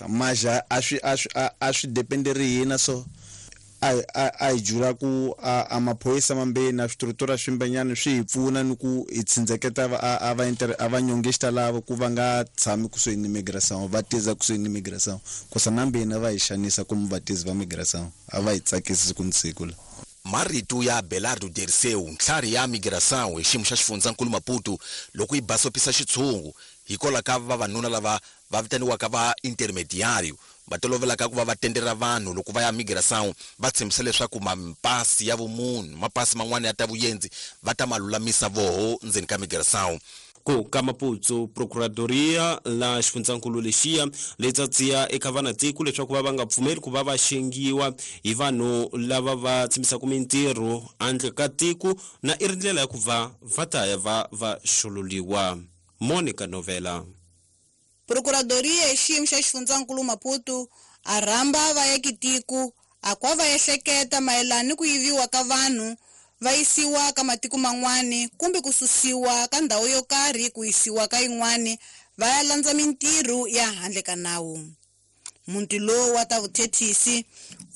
Maja a swi a swi a swi dependeri hina so a hi jula ku a maphorisa mambeni na switurutula swimbenyana swi hi pfuna ni ku hi tsindzeketa a va inter a va nyongexta lava ku va nga tshami kusuhi ni migration va tiza kusuhi ni migration kosa na mbeni va hi xanisa kumbe vatizi va migration a va hi tsakisi siku ni siku la. Marito ya Abelardo Dirceu, ntlhari ya migração hi xiyimo xa xifundzankulu Maputo loko yi basopisa xitshungu hikwalaho ka vavanuna lava va vitaniwaka va intermediário va tolovelaka ku va va tendera vanhu loko va ya migração va tshembisa leswaku mapasi ya vumunhu mapasi man'wana ya ta vuyenzi va ta ma lulamisa voho ndzeni ka migração. Ku ka Maputo Procuradoria la xifundzankulu lexiya leyi tsatsiya eka vanatiko leswaku va va nga pfumeli ku va va xengiwa hi vanhu lava va tshembisaka mintirho handle ka tiko na i ri ndlela ya ku va va ta ya va va xululiwa. Monica Novela. Procuradoria hi xiyimo xa xifundzankulu Maputo a rhamba vaakitiko a kwa va ehleketa mayelana ni ku yiviwa ka vanhu va yisiwa ka matiko man'wani kumbe ku susiwa ka ndhawu yo karhi ku yisiwa ka yin'wani va ya landza mintirho ya handle ka nawu. Muti lowu wa ta vuthethisi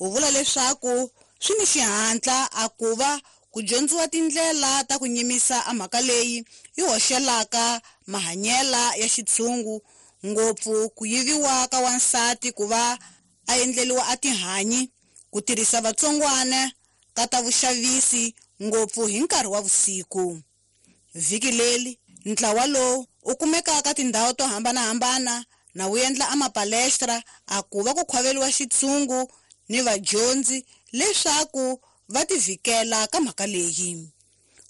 wu vula leswaku swi ni xihatla a ku va ku dyondziwa tindlela ta ku nyimisa a mhaka leyi yi hoxelaka mahanyela ya xitshungu ngopfu ku yiviwa ka wansati ku va a endleriwa a tihanyi ku tirhisa vatsongwana ka ta vuxavisi ngopfu hi nkarhi wa vusiku. Vhiki leri ntlawa lowu u kumeka ka tindhawu to hambanahambana na wu endla a mapalestra a ku va ku khwaveriwa xitshungu ni vadyondzi leswaku va tivhikela ka mhaka leyi.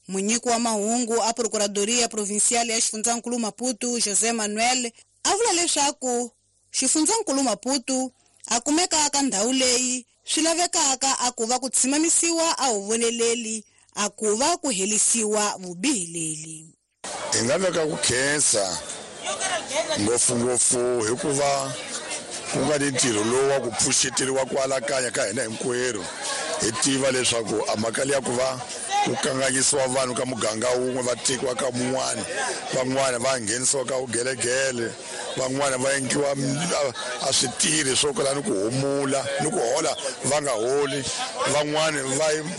Munyiki wa mahungu a Procuradoria Provincial ya xifundzankulu Maputo José Manuel a vula leswaku xifundzankulu Maputo a kumeka ka ndhawu leyi swi lavekaka a ku va ku tshimamisiwa a hu voneleli a ku va ku helisiwa vubihi leli. Hi nga veka ku khensa ngopfungopfu hikuva ku nga ni ntirho lowu wa ku pfuxeteriwa ku alakanya ka hina hinkwerhu hi tiva leswaku a mhaka liya ku va ku kanganyisiwa vanhu ka muganga wun'we va tekiwa ka mun'wana van'wana va nghenisiwa ka vugelegele van'wana va endliwa a switirhi swo kala ni ku humula ni ku hola va nga holi van'wana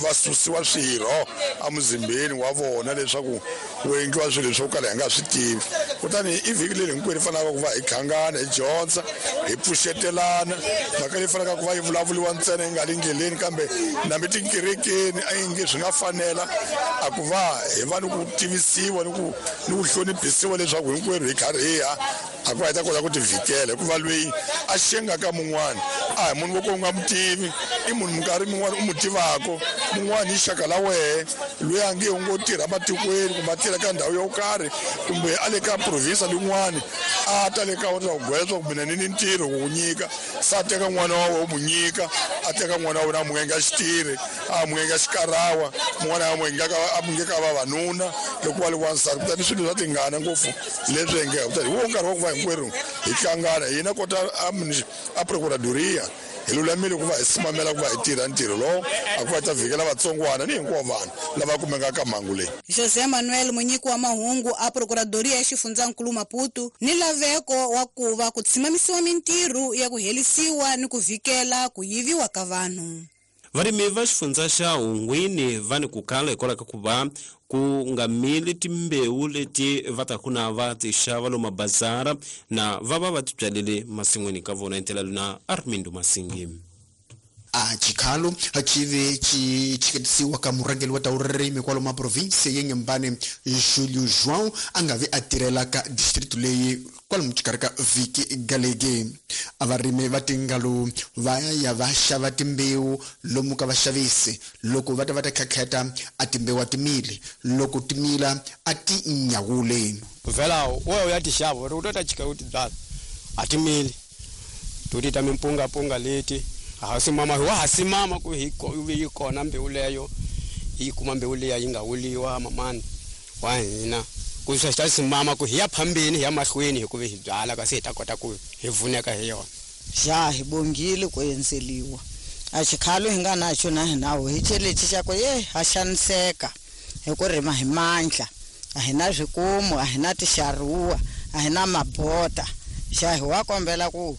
va susiwa swirho emuzimbeni wa vona leswaku ku endliwa swilo swo kala hi nga swi tivi. Kutani i vhiki leri hinkwerhu hi fanelaka ku va hi hlangana hi dyondza hi pfuxetelana mhaka leyi fanelaka ku va yi vulavuriwa ntsena yi nga le ndleleni kambe nambi tikerekeni a yi nge swi nga fanela a ku va hi va ni ku tivisiwa ni ku hloniphisiwa leswaku hinkwerhu hi karhiha a ku va hi ta kota ku tivhikela hikuva loyi a xengaka mun'wana a hi munhu wo ka u nga mu tivi i munhu minkarhi min'wana u mu tivaka mun'wana i xaka la wehe loyi a nge u ngo tirha matikweni kumbe a tirha ka ndhawu yo karhi kumbe a le ka province lin'wani a ta le ka wena ku gwela leswaku mina ni ni ntirho ku ku nyika se a teka n'wana wa wena u mu nyika a teka n'wana wa wena a mu endla xitirhi a mu endla xikarawa mun'wana a mu endla a mu nyika vavanuna loko wa le wansati. Kutani swilo swa tingana ngopfu leswi endleka kutani hi wo nkarhi wa ku va hinkwerhu hi hlangana hina kota a Procuradoria hi lulamile ku va hi simamela ku va hi tirha ntirho lowu a ku va ta vhikela vatsongwana ni hinkwavo vanhu lava kumekaka ka mhangu leyi. José Manuel munyiki wa mahungu a Procuradoria ya xifundzankulu Maputo ni laveko wa ku va ku tshimamisiwa mintirho ya ku helisiwa ni ku vhikela ku yiviwa ka vanhu. Varimi va xifundza xa Hungwini va ni ku kala hikwalaho ka ku va ku nga mili timbewu leti va ta ku na va ti xava lomu mabazara na va va va ti byalele masin'wini ka vona hi ndlela luna Armindo Masingi. A xikhalo xi ve xi chiketisiwa ka murhangeri wa ta vurimi kwalomu ma province ya Inhambane Julio João a nga vi a tirhela ka district leyi kwalomu xikarhi ka vhiki galege. A varimi va tingalo va ya va xava timbewu lomu ka vaxavisi loko va ta va ta khakheta a timbewu a timili loko timila a ti nyawuli. Vhela wo ya ti xava u ta ta chika u ti byala a timili to ti ta mimpungapunga leti ha simama wa ha simama ku hi yi kona mbewu leyo yi kuma mbewu leya yi nga wuliwa mamani wa hina ku swi ta simama ku hi ya phambeni hi ya mahlweni hi ku hi byala kasi hi ta kota ku hi vuneka hi yona. Ja hi bongile ku endzeliwa a xikhalo hi nga naxo na hinawo hi chelexi xa ku ye ha xaniseka hi ku rima hi mandla a hi na swikumu a hi na tixaruwa a hi na mabota xa hi wa kombela ku